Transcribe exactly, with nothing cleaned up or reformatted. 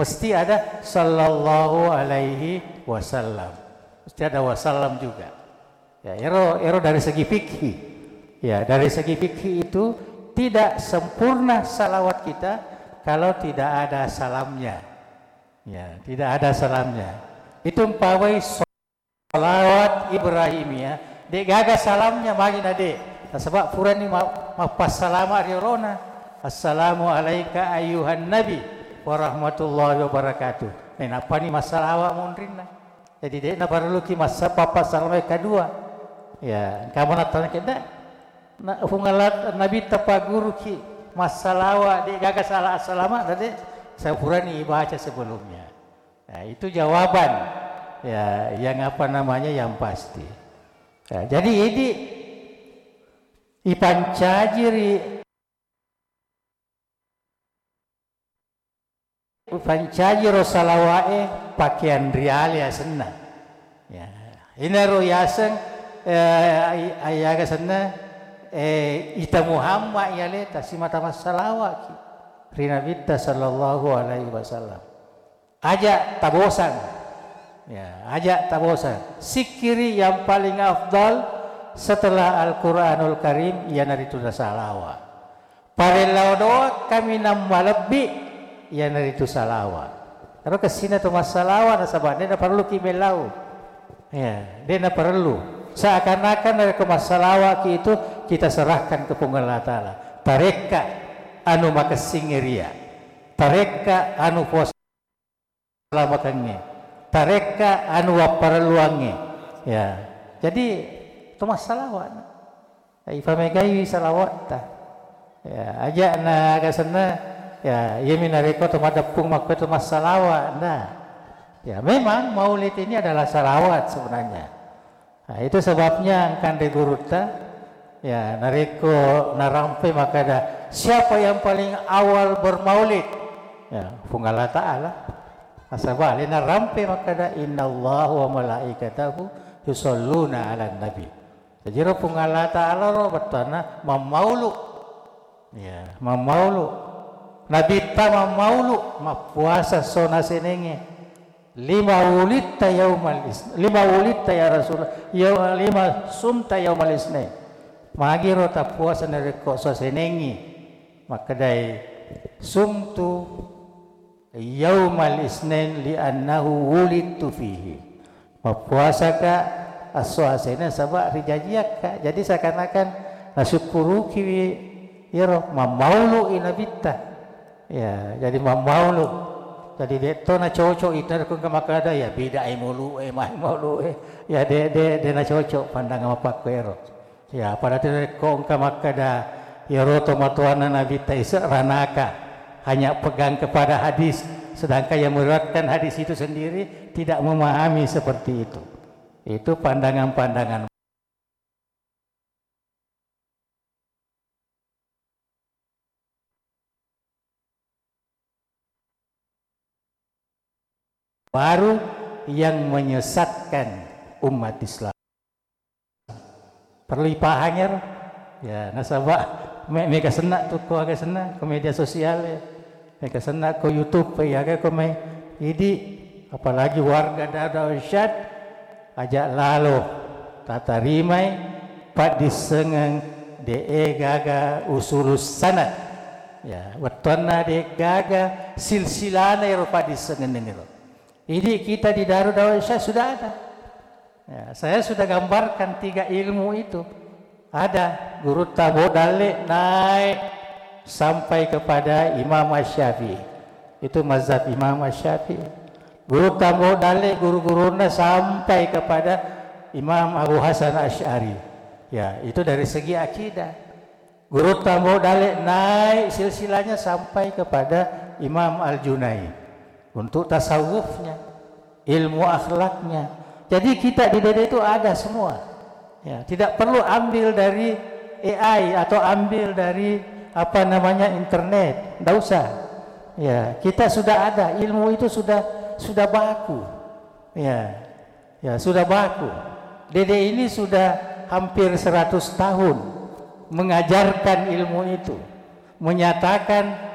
mesti ada sallallahu alaihi wasallam. Mesti ada wasallam juga. Ya, ero, ero dari segi fikih. Ya, dari segi fikih itu tidak sempurna salawat kita kalau tidak ada salamnya. Ya, tidak ada salamnya. Itu umpamai salawat Ibrahimiyah, de' gaga salamnya, magi na de'. Nasaba' purani ma-, mappassalama' ri olona. Assalamu alaika ayyuhan nabi warahmatullahi wabarakatuh. Nainappani massalawa' monrinna. Jadi de' naparelluki massa-, pappassalama' yang kedua. Ya, engka mo nattana kedda. Na, Puang Allah, Nabitta pagguruki massalawa', de' gaga sala assalama', na de'. Sampurani ibaca sebelumnya. Nah, itu jawaban, ya, yang apa namanya, yang pasti. Ya, jadi idi ipancaji ri, ipancaji ro salawa'e pakeang riale asenna. Ya, inaro yaseng, eh, ai-, ayaga senna, eh, ita Muhammad yaleta simata massalawa'ki ri Nabitta sallallahu alaihi wasallam. Aja' tabosang. Ya, aja' tabosang. Sikkiri yang paling afdal setelah Al-Quranul Karim, iyanaritu salawat. Parellau doang kaminang malebbi, iyanaritu salawat. Ero kessina tu massalawat, nasaba' de' naparelluki mellau. Ya, de' naparellu. Seakan-akan narekko massalawa'ki itu kita serahkan ke Puang Allah Ta'ala. Tarekka anu makessing ria. Tarekka anu puas salamakengnge. Tarekka anu wapparelluangnge. Ya. Jadi, to massalawa'. Ifamegaiwi salawatta. Ya, aja' na aga senna, ya, iyami narekko to madeppung makko to massalawa', nda. Ya, memang maulid ini adalah salawat sebenarnya. Nah, itu sebabnya engka anre gurutta, ya, narekko narampe makkada, "Siapa yang paling awal bermaulid?" Ya, Puang Allah Ta'ala. Nasaba' alena rampe makkada, "Innallaha wa malaikatahu yusalluna 'alan nabi." Jadi ro Puang Allah Ta'ala ro bettuanna mammaulu. Ya, mammaulu. Nabitta mammaulu, mappuasa sona senengnge. Lima wulitta yaumal is-, lima wulitta ya Rasulullah, ya, lima sumta yaumal isnain. Magiro tappuasa narekko so senengngi. Makkedai, "Sumtu yaumal isnain li'annahu wulidtu fihi." Mappuasaka esso asena saba' rijajiakka. Jadi seakan-akan nasukkurukiwi iyaro, mammaulu'i Nabitta. Ya, jadi mammaulu. Jadi de' to nacoco' itu ko engka makkada, ya, bidai maulu'e, mai maulu'e. Ya, de', de', de' nacoco' pandangan mappakkuero. Ya, pada tu rekko engka makkada, iyaro tomatoanna Nabitta ise' ranaka, hanya pegang kepada hadis, sedangkan yang meriwayatkan hadis itu sendiri tidak memahami seperti itu. Itu pandangan-pandangan baru yang menyesatkan umat Islam. Perlu ipahang iyaro. Ya, nasaba' me-, mega senna tu ko aga senna ko media sosial, ya. Mega senna ko YouTube, ya, aga ko mai idi, apalagi warga Darussyad, aja' lalo tatarimai paddissengeng de'e gaga usulus sanad. Ya, wettuanna de' gaga silsilana ero paddissengeng ero. Jadi kita di Darul Da'wah Isya sudah ada. Ya, saya sudah gambarkan tiga ilmu itu. Ada Gurutta Ambo Dalle naik sampai kepada Imam Asy-Syafi'i. Itu mazhab Imam Asy-Syafi'i. Gurutta Ambo Dalle guru-gurunna sampai kepada Imam Abu Hasan Asy'ari. Ya, itu dari segi akidah. Gurutta Ambo Dalle naik silsilahnya sampai kepada Imam Al-Junaid untuk tasawufnya, ilmu akhlaknya. Jadi kita di dede itu ada semua. Ya, tidak perlu ambil dari A I atau ambil dari apa namanya internet, ndak usah. Ya, kita sudah ada, ilmu itu sudah sudah baku. Ya. Ya, sudah baku. Dede ini sudah hampir seratus tahun mengajarkan ilmu itu, menyatakan